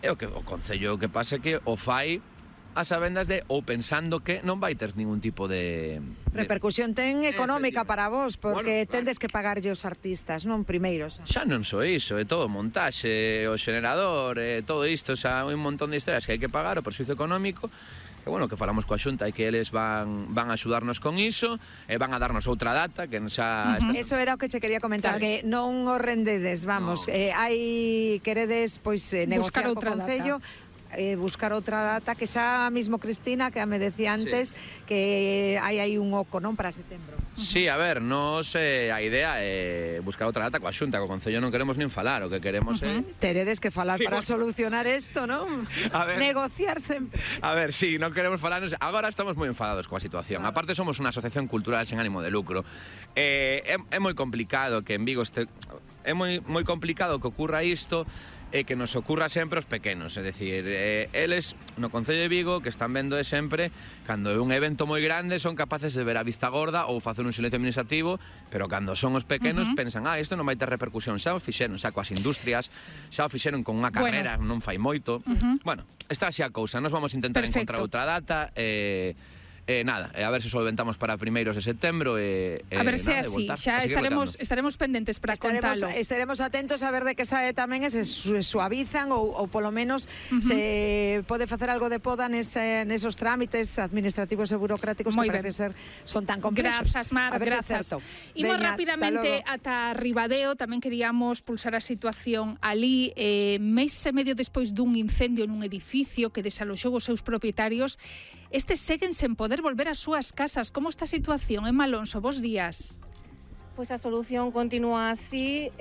E o Concello que pasa que o fai a sabendas de, ou pensando que non vai ter ningún tipo de... Repercusión ten económica para vos, porque bueno, tendes que pagarlle os artistas, non primeiros. Xa non só iso, é todo montaxe, o xenerador, todo isto, xa un montón de historias que hai que pagar, o perxuízo económico, que bueno, que falamos coa Xunta e que eles van a axudarnos con iso, e van a darnos outra data, que xa... Eso era o que che quería comentar, que non o rendedes, vamos, queredes, pois, negociar co Concello, buscar outra data, que xa mismo Cristina, que me decía antes, que hai aí un oco, non, para setembro. Sí, a ver, nos a idea é buscar outra data coa Xunta, co Concello non queremos nin falar, o que queremos é... Teredes que falar para solucionar isto, non? A ver, negociar sempre. A ver, sí, non queremos falar, agora estamos moi enfadados coa situación. Claro. Aparte somos unha asociación cultural sen ánimo de lucro. É moi complicado que en Vigo é moi complicado que ocurra isto e que nos ocurra sempre aos pequenos, é dicir, eles no Concello de Vigo que están vendo sempre, cando é un evento moi grande son capaces de ver a vista gorda ou facer un silencio administrativo, pero cando son os pequenos pensan, isto non vai ter repercusión, xa o fixeron, xa coas industrias, xa o fixeron con unha carrera, non fai moito. Bueno, está así a cousa, nos vamos a intentar encontrar outra data, nada, a ver se solventamos para primeiros de setembro a ver se así, xa estaremos pendentes para contalo. Estaremos atentos a ver de que sae tamén e se suavizan ou polo menos se pode facer algo de poda nesos trámites administrativos e burocráticos que parece ser son tan complexos. Grazas, Mar, grazas. Imos rapidamente ata Ribadeo, tamén queríamos pulsar a situación ali, mes e medio despois dun incendio nun edificio que desaloxou os seus propietarios. Estes seguen sen poder volver ás súas casas. Como está a situación, Emma Alonso? Bos días. Pois a solución continúa así,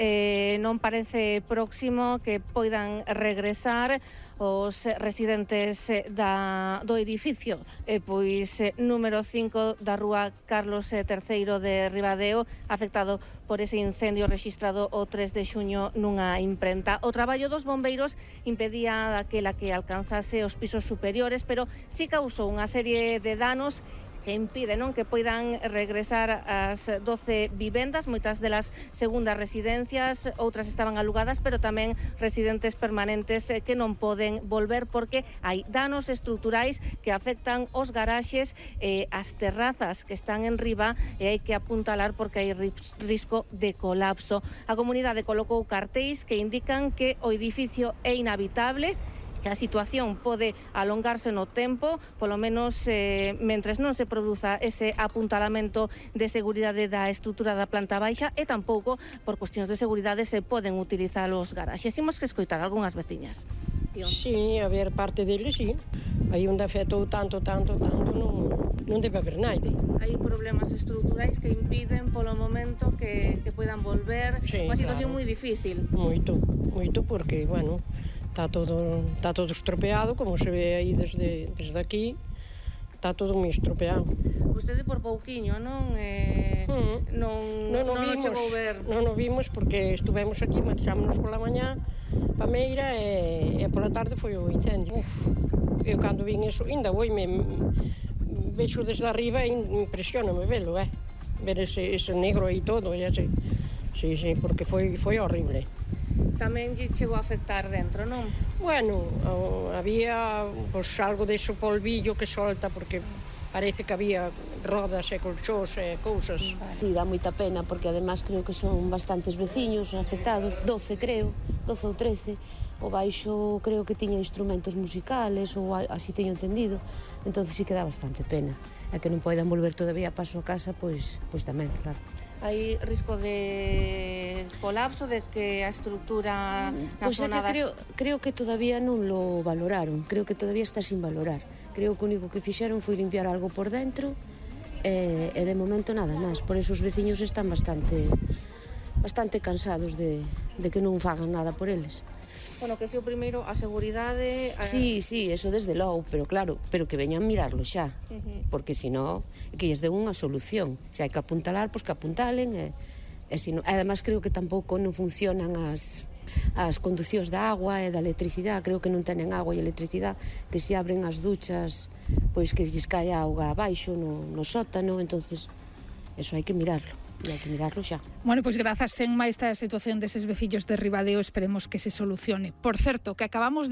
non parece próximo que poidan regresar os residentes do edificio, pois número 5 da rúa Carlos III de Ribadeo, afectado por ese incendio rexistrado o 3 de xuño nunha imprenta. O traballo dos bombeiros impedía daquela que alcanzase os pisos superiores, pero sí causou unha serie de danos que impide, non, que poidan regresar as 12 vivendas, moitas delas segundas residencias, outras estaban alugadas, pero tamén residentes permanentes que non poden volver porque hai danos estruturais que afectan os garaxes e as terrazas que están en riba, e hai que apuntalar porque hai risco de colapso. A comunidade colocou cartéis que indican que o edificio é inhabitable, que a situación pode alongarse no tempo, polo menos mentres non se produza ese apuntalamento de seguridade da estrutura da planta baixa, e tampouco por cuestións de seguridade se poden utilizar os garaxes. Imos que escoitar algunhas veciñas. Sí, a ver, parte deles, sí. Aí onde afectou tanto, non debe haber naide. Hai problemas estruturais que impiden polo momento que poidan volver, sí, unha situación moi difícil. Moito, porque, bueno, está todo estropeado, como se ve aí desde aquí, está todo moi estropeado. Vostede por pouquiño, non chegou a ver? Non o vimos porque estuvemos aquí, marchámonos pola mañá pa Meira e pola tarde foi o incendio. Eu cando vin eso, ainda vexo desde arriba e impresioname velo, ver ese negro aí todo, sí, porque foi horrible. Tamén lle chegou a afectar dentro, non? Bueno, había algo deso polvillo que solta, porque parece que había rodas e colchós e cousas. Sí, dá moita pena, porque además creo que son bastantes veciños afectados, 12 ou 13. O baixo creo que tiña instrumentos musicales, ou así teño entendido, entonces sí que dá bastante pena. E que non poidan volver todavía a paso a casa, pois tamén, claro. Hai risco de colapso, de que a estrutura na zona creo que todavía non lo valoraron, creo que todavía está sin valorar. Creo que o único que fixeron foi limpiar algo por dentro e de momento nada máis. Por eso os veciños están bastante cansados de que non fagan nada por eles. Bueno, que se o primeiro, a seguridade... Sí, eso desde logo, pero claro, pero que veñan mirarlo xa, porque senón que lles den unha solución. Se hai que apuntalar, pois que apuntalen, e además creo que tampouco non funcionan as conducións da agua e da electricidade, creo que non tenen agua e electricidade, que se abren as duchas, pois que lles cae a auga abaixo no sótano, entonces eso hai que mirarlo. E hai que mirarlo xa. Bueno, pois grazas en máis esta situación deses veciños de Ribadeo, esperemos que se solucione. Por certo, que acabamos de